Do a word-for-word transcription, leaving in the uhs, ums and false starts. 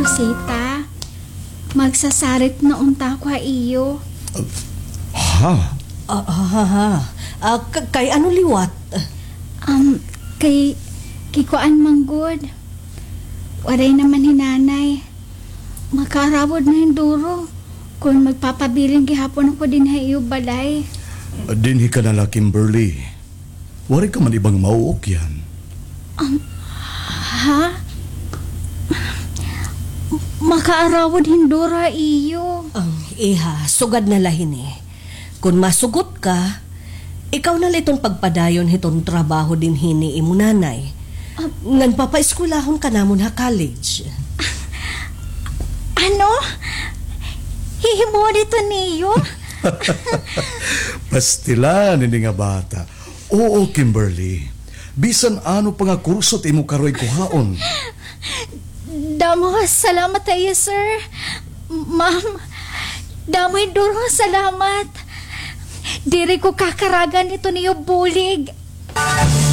Sita, magsasarit na unta ako ha iyo. Ha? Ah, ha, ha, ha. Ah, k-, kay ano liwat? Um, kay, kay kuan man gud. Waray naman hi Nanay. Makaarawod na hin duro kon magpapabilin gihapon ako dinhi ha iyo balay. Dinhi ka na la, Kimberly. Waray ka man ibang mauukyan. Um, ha? Makaarawod hin duro ha iyo. Ang iha, sugad na la hini. Kon masugot ka, ikaw na la iton pagpadayon hiton trabaho dinhi ni imo nanay. Ah. Ngan papaeskwelahon ka namon ha college. Ano? Hihimuon ito niyo? Pastilan ini nga bata. Oo, Kimberly. Bisan ano pa nga kurso it imo karoy kuhaon. Damo nga salamat ha iyo, sir. Ma'am, damo hin duro nga salamat. Diri ko kakaragan ito niyo bulig.